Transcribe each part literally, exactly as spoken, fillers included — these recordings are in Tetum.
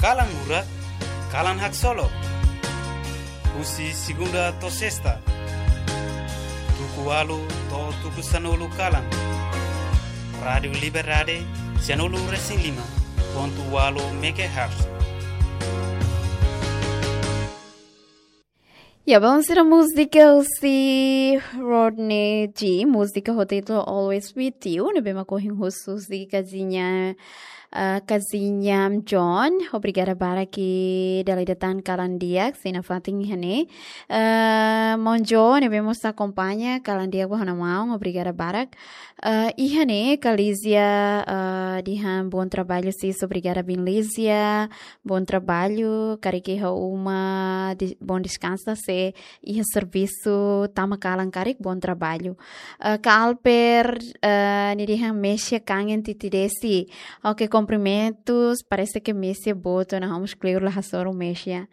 Kalan Murak, Kalan Haksolok. Husi segunda to'o sesta, tuku ualu to'o tuku sanulu kalan. Rádiu Liberdade, sanulu resin lima pontu ualu megahertz. Ya, vamos a música husi Rodney G. Música ho título Always With You. Ne'ebé mak ohin husu husi kaziña, ah, kaziña John. Obrigada barak dala ida tan kalan di'ak sei nafatin iha ne'e. Ah, maun John, ne'ebé mós akompaña kalan di'ak ba ha'u-nia maun. Obrigada barak. Ah, iha ne'e, ka Lízia, ah, dehan bom trabalho, sis, obrigada barak Lízia. Bom trabalho, karik iha uma, de-, bom descanso, se iha servisu tama kalan karik, bom trabalho. Ah, ka Alper, ah, nia dehan Mesha kangen tiha Desi. Ok, cumprimentos, parece que Mesha boot ona, vamos kleur la hasoru Mesha.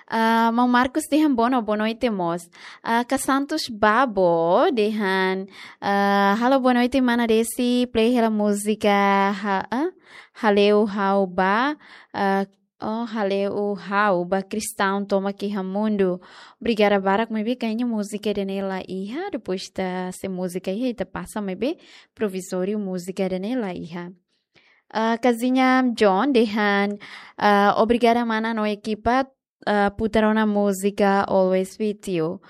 Ah, maun Marcos dehan boa no-, boa noite mós. Ah, ka Santos Babo dehan, ah, halo boa noite mana Desi, play hela múzika ha-, ah? Hale'u Ha'u Ba, ah, oh, Hale'u Ha'u Ba Kristaun Tomak iha Mundu. Obrigada barak, maibé kayaknya múzika ida-ne'e la iha, depois ita se múzika iha, ita pasa, maibé provizóriu múzika ida-ne'e la iha. Ah, kaziña John dehan, ah, obrigada mana no ekipa, ah, putar ona múzika Always With You.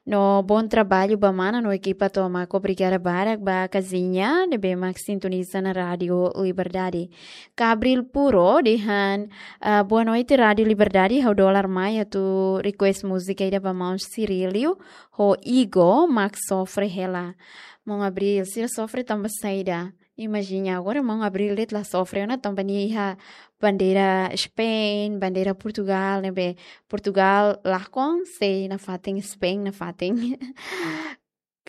No bom trabalho ba mana no ekipa tomak. Obrigada barak ba kaziña ne'ebé mak sintoniza ona Rádiu Liberdade. Ka Abril Puro dehan, ah, boa noite Rádiu Liberdade, ha'u dólar mai atu request múzika ida ba maun Cirílio ho Igo mak sofre hela. Maun Abril, sira sofre tanba saida? Imajina, agora maun Abril de'it la sofre ona tanba nia iha bandeira Spain, bandeira Portugal, ne'ebé Portugal lakon, sei nafatin Spain nafatin.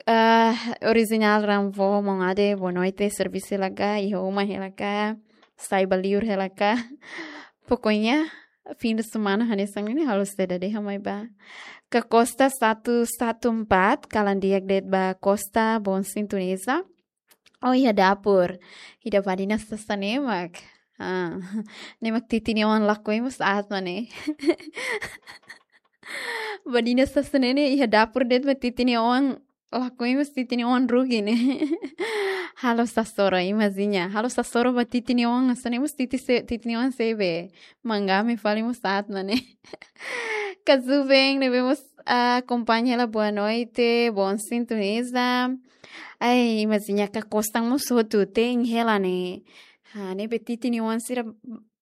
Ah, Original Ramvo, maun Ade, boa noite, servisu hela ka, iha uma hela ka, sai ba liur hela ka. Pokoknya, fim de semana hanesan ne'e halo saida dehan mai ba. Ka Costa satu satu empat, kalan di'ak de'it ba Costa, bom sintoniza. Oh, iha dapur. Ida badinas sasán ne'e mak. Ah, ne'e mak titin nia oan lakohi mós aat mak ne'e. Badinas sasán ne'e iha dapur de'it mak titin nia oan lakohi mós titin nia oan rugi ne'e. Halo sasoro, imajina. Halo sasoro ba titin nia oan, sasán ne'e mós titin se-, titin nia oan sei be. Mangame fali mós aat mak ne'e. Ka Zuben, ne'ebé mós, ah, akompaña hela boa noite, bom sintoniza. Ai, imajina ka Costa mós hotu, te'in hela ne'e. Ha, ne'ebé titin nia oan sira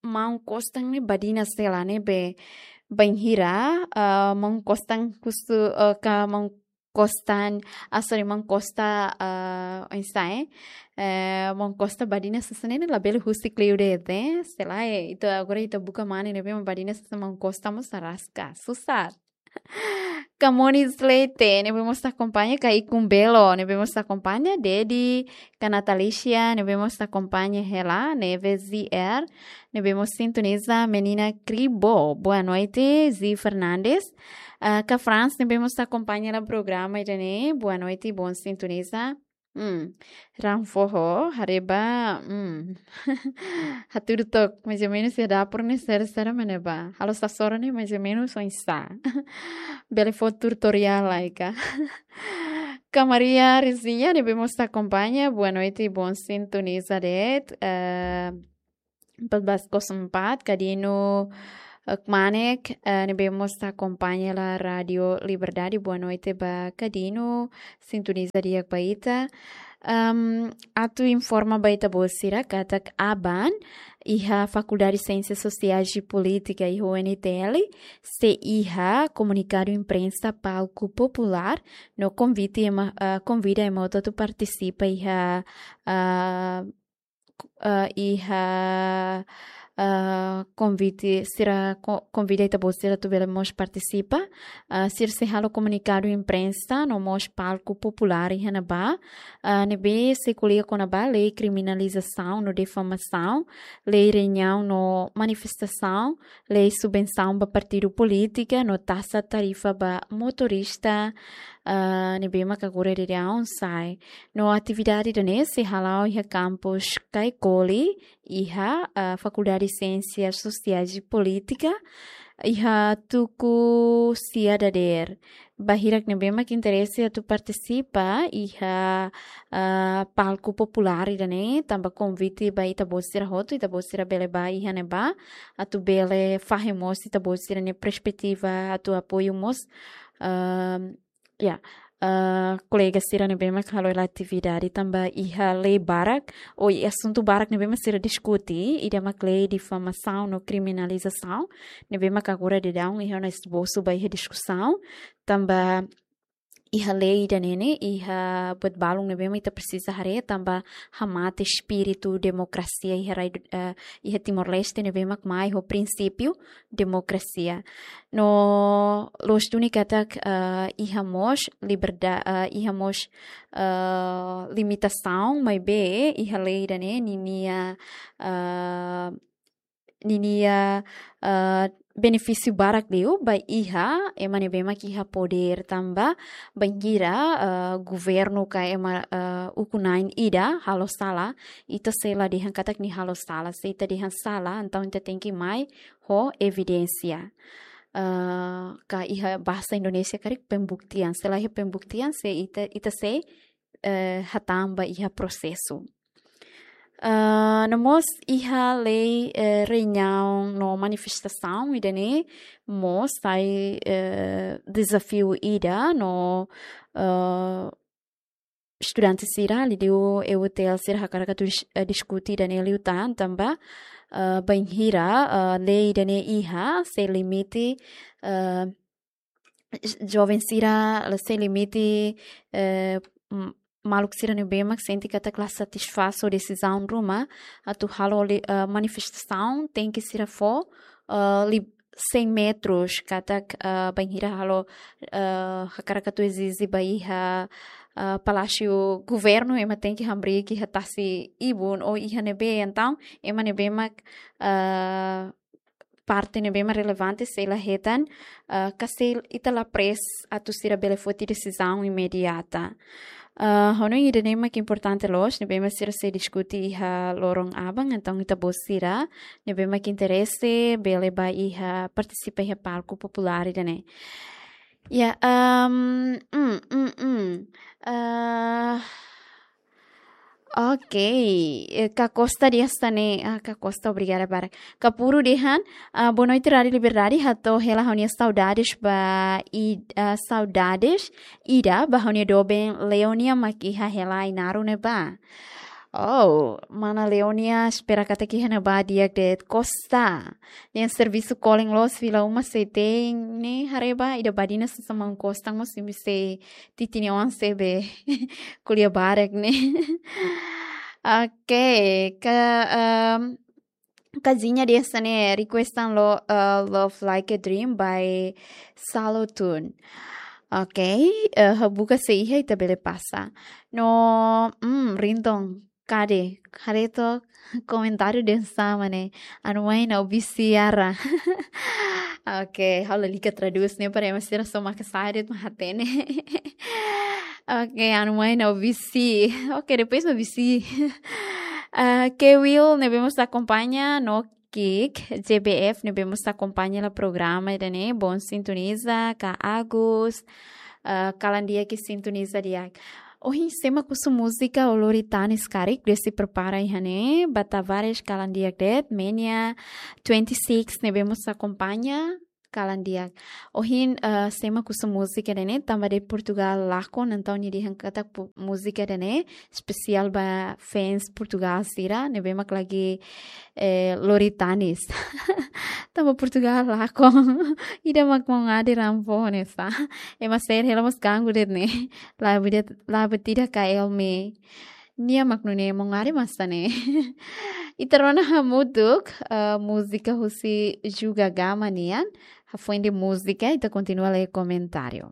maun Costa ne'e badinas hela ne'ebé bainhira, ah, maun Costa husu, ah, ka maun Costa, ah, sorry, maun Costa, ah, oinsá, eh? Eh, maun Costa badinas sasán ne'e labele husik liu de'it, eh? Sei la, eh, ita agora ita buka mane ne'ebé mak badinas sasán maun Costa mós araska, susar. Ka Moni Slate, ne'ebé mós akompaña, ka Ikun Belo, ne'ebé mós akompaña, Dedi, ka Natalicia, ne'ebé mós akompaña hela, ne'ebé Z R, ne'ebé mós sintoniza, Menina Kribo, boa noite, Zi Fernandes, ah, ka Franz, ne'ebé mós akompaña hela programa ida-ne'e, boa noite, bom sintoniza. Hmm. Ranfoho, haree ba, hmm. Hatudu took, mais ou menos, iha dapur ne'e sera, sera mak ne'e ba. Halo sasoro ne'e, mais ou menos, oinsá. Bele fó tutorial lai ka. Ka Maria Rezinha, ne'ebé mós akompaña, boa noite, bom sintoniza de'it. Eh, empat belas kosong empat, ka Dino, eh, Kmanek, eh, ne'ebé mós akompaña hela Rádiu Liberdade. Boa noite ba ka Dino, sintoniza di'ak ba ita. Em, atu informa ba ita-boot sira katak aban iha Fakuldade Siénsias Sosiais i Polítika iha U N T L sei iha komunikadu imprensa palku populár no konvite ema, ah, konvida ema hotu atu partisipa iha, ah, ah, iha, ah, konvite sira ko-, konvida ita-boot sira atu bele mós partisipa. Ah, sira sei halo komunikadu imprensa no mós palku populár iha ne'ebá. Ah, ne'ebé sei ko'alia kona-ba lei kriminalizasaun no difamasaun, lei reuniaun no manifestasaun, lei subvensaun ba partidu polítika no taxa tarifa ba motorista, ah, ne'ebé mak agora daudaun sai. No atividade ida-ne'e sei hala'o iha kampus Caicoli, iha, ah, Fakuldade Siénsias Sosiais e Polítika, iha tuku sia dadeer. Ba hirak ne'ebé mak interese atu partisipa iha, ah, palku populár ida-ne'e, tanba konvite ba ita-boot sira hotu, ita-boot sira bele bá iha ne'ebá, atu bele fahe mós ita-boot sira-nia perspetiva, atu apoiu mós, ah, ya, ah, kolega sira ne'ebé mak halo hela atividade, tanba iha lei barak, ou iha asuntu barak ne'ebé mak sira diskute, ida mak lei difamasaun no kriminalizasaun, ne'ebé mak agora daudaun iha ona esbosu ba iha diskusaun, tanba iha lei ida-ne'e ne'e, iha buat balun ne'ebé mak ita presiza haree, tanba hamate espíritu demokrasia iha rai, eh, iha Timor-Leste ne'ebé mak mai ho prinsípiu demokrasia. No loos duni katak, eh, iha mós liberdade, eh, iha mós, eh, limitasaun, maibé iha lei ida-ne'e ninia, eh, ninia, eh, benefísiu barak liu ba iha ema ne'ebé mak iha podér, tanba bainhira, eh, governu ka ema, eh, ukun-na'in ida halo sala, ita sei la dehan katak nia halo sala, se ita dehan sala, entaun ita tenke mai ho evidénsia. Eh, ka iha bahasa Indonesia karik pembuktian, se la iha pembuktian, se ita, ita sei, eh, hatán ba iha prosesu. Ah, no mós iha lei, eh, reuniaun no manifestasaun ida-ne'e mós sai, eh, dezafiu ida no, eh, estudante sira liuliu E U T L sira hakarak atu dis-, eh, diskute ida-ne'e liután tanba, eh, bainhira, eh, lei ida-ne'e iha sei limite, eh, joven sira, la sei limite, eh, m-, maluk sira ne'ebé mak sente katak la satisfás ho desizaun ruma atu halo li-, eh, manifestasaun, tenke sira fó, eh, li-, cem metros katak, eh, bainhira halo, eh, hakarak atu ezije ba iha, eh, Palásiu Governu, ema tenke hamriik iha tasi-ibun ou iha ne'ebé, entaun ema ne'ebé mak, eh, parte ne'ebé mak relevante sei la hetan, ah, ka sei ita la press atu sira bele foti desizaun imediata. Ah, hanoin ida-ne'e mak importante loos, ne'ebé mak sira sei diskute iha loron aban, entaun ita-boot sira ne'ebé mak interese bele bá iha partisipa iha palku populár ida-ne'e. Ya, ehm, mm, mm, mm. Ah, ok, eh, Ka Costa dehan hanesan ne'e, ah, Ka Costa, obrigada barak. Kapuru dehan, ah, boa noite, Rádio Liberdade, hato'o hela ha'u-nia saudades ba i-, ah, saudades ida ba ha'u-nia doben Leonia mak iha hela Ainaro ne'ebá. Oh, mana Leonia, espera katak iha ne'ebá di'ak de'it. Costa, nia servisu kolen loos, fila uma sei te'in ne'e, haree ba ida badina sasán maun Costa mós imi sei titi nia oan sebe ko'alia barak ne'e. Ok, Ka, ehm, Kazinha dehan hanesan ne'e, requestan lo, eh, Love Like a Dream by Salo Tun. Ok, eh, ha'u buka se iha ita bele pasa. No, mm, Rinton, kade, haree to'ok komentáriu dehan hanesan ne'e, anu mai na obi siara. Ok, ha'u lalika tradús ne'e para ema sira só maka sadet mak hatene. Ok, anu mai na obi si. Ok, depois na obi si. Ah, Kewil ne'ebé mós akompaña, no Kik, J B F ne'ebé mós akompaña hela programa ida-ne'e, bom sintoniza, Ka Agus, ah, kalan di'ak sintoniza di'ak. Ohin sé mak husu múzika ou lori tanis karik, desde prepara iha ne'e, ba Tavares kalan di'ak de'it, Menia twenty-six ne'ebé mós akompaña, kalan di'ak. Ohin, eh, sé mak husu múzika ida-ne'e, tanba de'it Portugal lakon, entaun nia dehan katak pu-, múzika ida-ne'e espesiál ba fans Portugal sira, ne'ebé mak lagi, eh, lori tanis. Tanba Portugal lakon. Ida mak maun Ade rampo nesa. Ema sira hela mós ganggu de'it ne'e. Labu de'it, labu tidak ka Elmi. Nia mak nune'e maun Ade masa ne'e. Ita rona hamutuk, eh, múzika husi Juga Gama nian. Hafoin de'it múzika, ita kontinua lee komentáriu.